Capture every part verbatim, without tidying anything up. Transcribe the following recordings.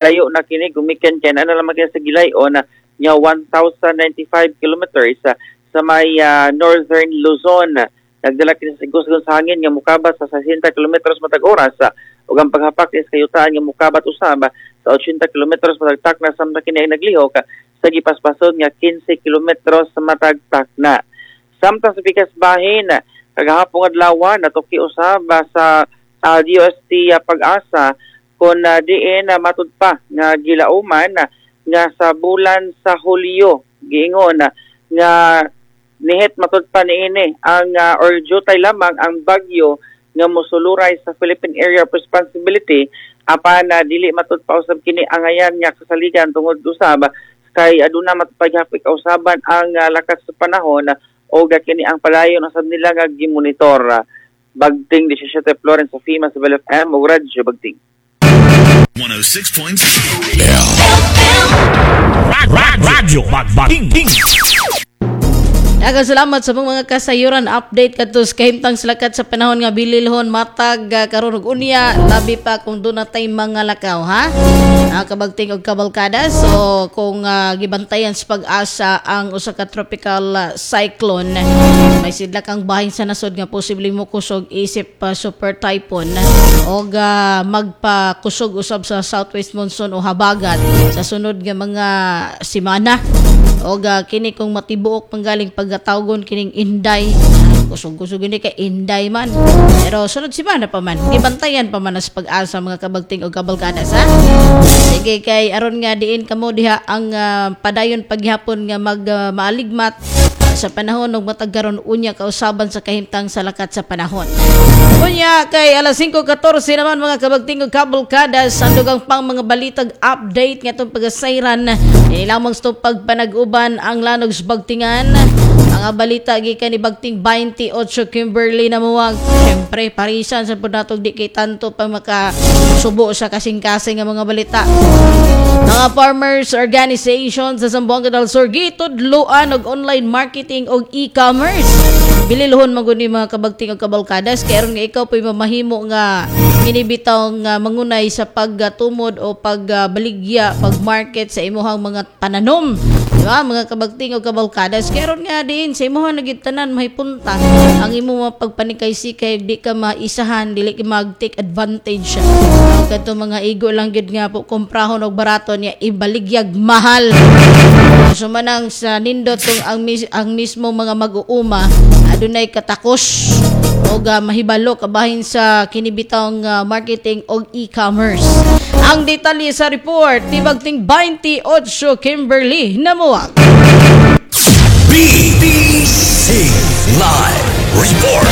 Layo na kini gumikan kay ana lamang kini sa gilayon nga one thousand ninety-five kilometers sa, sa may ah, northern Luzon. Nagdala kini sa igos sa hangin nga mukabat sa sesenta kilometros matag oras ug ang paghapak sa kayutaan nga mukabat usab sa otsyenta kilometros matag takna samtang kini ay naglihok sa gipaspason nga kinse kilometros sa matag takna. Samtang sa pikas bahin, kagahapong adlaw natuki usab sa uh, D O S T uh, Pag-asa kung uh, diin uh, matud pa nga gilauman uh, nga sa bulan sa Hulyo giingon uh, nga nihit matud pa niini ang uh, or jutay lamang ang bagyo nga mosuluray sa Philippine Area of Responsibility, apan uh, dili matud pa usab kini angayan nga kasaligan tungod usab kay aduna matud pa gihapon kausaban ang uh, lakas sa panahon uh, o kini ang palayon usab nila nga gimonitor. uh, Bagting labing siyam Florence sa FEMA sa Bell F M ug Radyo Bagting. one oh six point Radyo Bagting. Daghang salamat sa mga kasayuran update kadto sa kahimtang sa lakat sa panahon nga bililhon matag uh, karon ug unya, labi pa kung duna tay mga lakaw, ha. Uh, kabagting og kabalkada. So kung uh, gibantayan sa Pag-asa ang usa ka tropical uh, cyclone, may sidlak ang bahin sa nasod nga posible mo kusog isip uh, super typhoon og uh, magpakusog usab sa southwest monsoon o habagat sa sunod nga mga semana. Og uh, kini kung matibuok panggaling pagkatawgon kining Inday, kusog-kusog ini kay Inday man, pero sunod semana pa man gibantayan pa man sa Pag-asa, mga kabagting og kabalkadas, ha. Sige, kay aron nga diin kamo diha ang uh, padayon paghapon nga mag uh, maaligmat sa panahon ug matag karon unya kausaban sa kahimtang sa lakat sa panahon. Unya kay alas singko katorse naman, mga kabagting ug kabalkadas, ang dugang pang mga balitag update nga itong pagasayran ini lamang sa itong pagpanag-uban, ang Lanog sa Bagtingan. Mga balita gikan ni Bagting twenty-eight Kimberly Namuwag. Siyempre, parisan sa pud natog di kay tanto pa makasubo sa kasing-kasing nga mga balita. Mga farmers organization sa Zamboanga del Sur gitudloan og online marketing og e-commerce. Bililhon man gud ni, mga kabagting og kabalkadas, kay aron nga ikaw po'y mamahimo nga kinibitaw nga mangunay sa pagtumod o pagbaligya, pag-market sa imuhang mga pananom. Di ba? Mga kabagting og kabalkadas. Kay aron nga din sa imuhang nagitanan mahipunta ang imong mga pagpanikay-sikay, di ka maisahan, dili ka mag-take advantage. Ang kadto mga igo lang gid nga po komprahon og barato niya ibaligyag mahal. So manang sa nindot tong ang, mis- ang mismo mga mag-uuma adunay katakos og uh, mahibalo kabahin sa kinibitang uh, marketing og e-commerce. Ang detalye sa report ni Bagting twenty-eight Kimberly Namuag. B B C Live Report.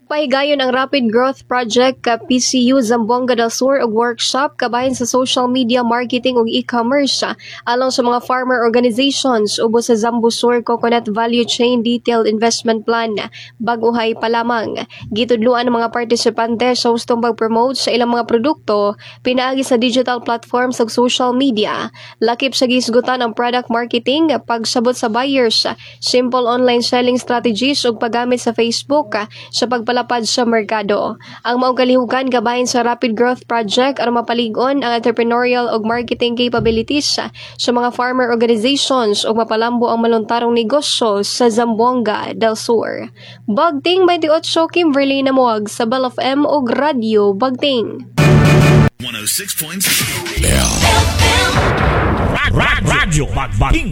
Pahigayon ang Rapid Growth Project ka P C U Zamboanga del Sur og workshop kabahin sa social media marketing ug e-commerce alang sa mga farmer organizations ubos sa Zambo Sur Coconut Value Chain Detailed Investment Plan. Bag-uhay pa lamang. Gitudluan ang mga partisipante sa hustong pag-promote sa ilang mga produkto pinaagi sa digital platforms ug social media. Lakip sa gisgutan ang product marketing, pagsabot sa buyers, simple online selling strategies ug paggamit sa Facebook sa pagpalapad sa merkado. Ang maong kalihukan kabahin sa Rapid Growth Project aron mapalig-on ang entrepreneurial ug marketing capabilities sa mga farmer organizations ug mapalambo ang maluntarong negosyo sa Zamboanga del Sur. Bagting twenty-eight Kimberly Namuag sa Bell F M ug Radyo Bagting. one oh six point Radyo Bagting.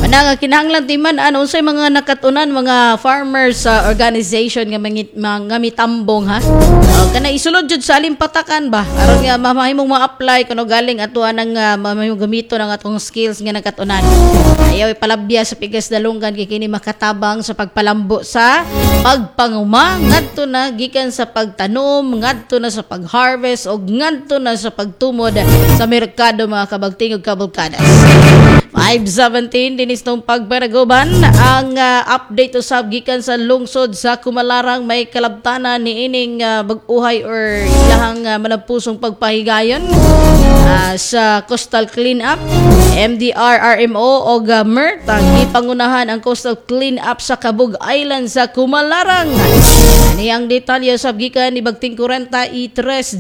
Manang kinahanglan timan ano unsay mga nakatunan mga farmers sa organization nga mangit mga mitambong, ha. Uh, kana isulod jud sa alimpatakan ba aron nga mamahimong ma-apply kuno galing ato ang uh, mamahimong gamito ng atong skills nga nakatunan. Ayaw ipalabya sa pigas dalunggan kay kini makatabang sa pagpalambo sa pagpanguma ngadto na gikan sa pagtanom ngadto na sa pag-harvest og ngadto na sa pagtumod sa merkado, mga kabagting ug kabalkadas. five seventeen dinis tong pagpanaguban, ang uh, update usab gikan sa lungsod sa Kumalarang, may kalabtanan ni ining uh, bag-uhay or ilahang uh, malampusong pagpahigayon uh, sa coastal clean up. M D R, R M O og uh, M E R T ang gipangunahan ang coastal clean up sa Cabug Island sa Kumalarang. Ni ang detalye sa gikan ni Bagting forty-three.